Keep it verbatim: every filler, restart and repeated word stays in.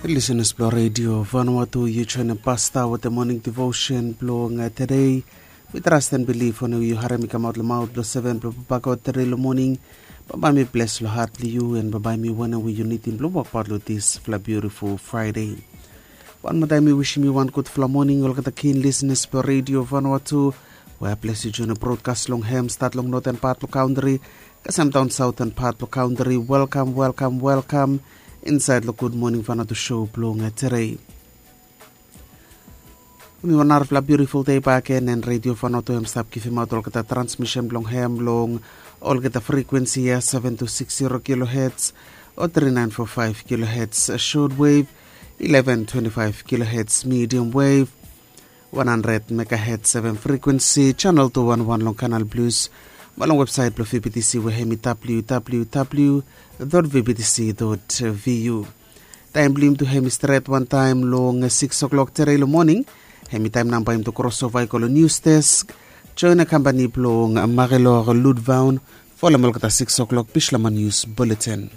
Lisenas blong redio Vanuatu, yu joinim pasta wetem moning devotion blong tedei. Mi trast en bilif wanem yu harim i kamaot long maot blong seven blong papa god tedei long moning. Bambae mi bles long hat blong yu en bambae mi wanem we yu nidim blong wokbaot long disfala biutiful Fraide. Wan moa taem mi wisim yu wan gudfala moning olgeta kin lisenas blong redio Vanuatu, we bles yu joinim brodkas long hem stat long noten pat blong kantri kasem daon saoten pat blong kantri. Welkam, welkam, welkam insaed long gud moning Vanuatu show blong tedei. Mi wan narafala biutiful dei baken en redio Vanuatu hem stap givimaot olgeta transmisen blong hem long olgeta frekuensi ya, seven two six zero kilohertz o three nine four five kilohertz short wave, eleven twenty five kilohertz medium wave, one hundred megahertz seven frekuensi, channel two one one long Kanal Plus, mo long websaet blong V B T C we hem i W W W dot V B T C dot V U. Taem blong yumi tu hem i stret wantaem long six o'clock tedei long moning. Hem i taem nao bae yumi tu krosova i go long news desk, join kampani blong Marilor Ludvaun folem olgeta six o'clock Bislama news bulletin.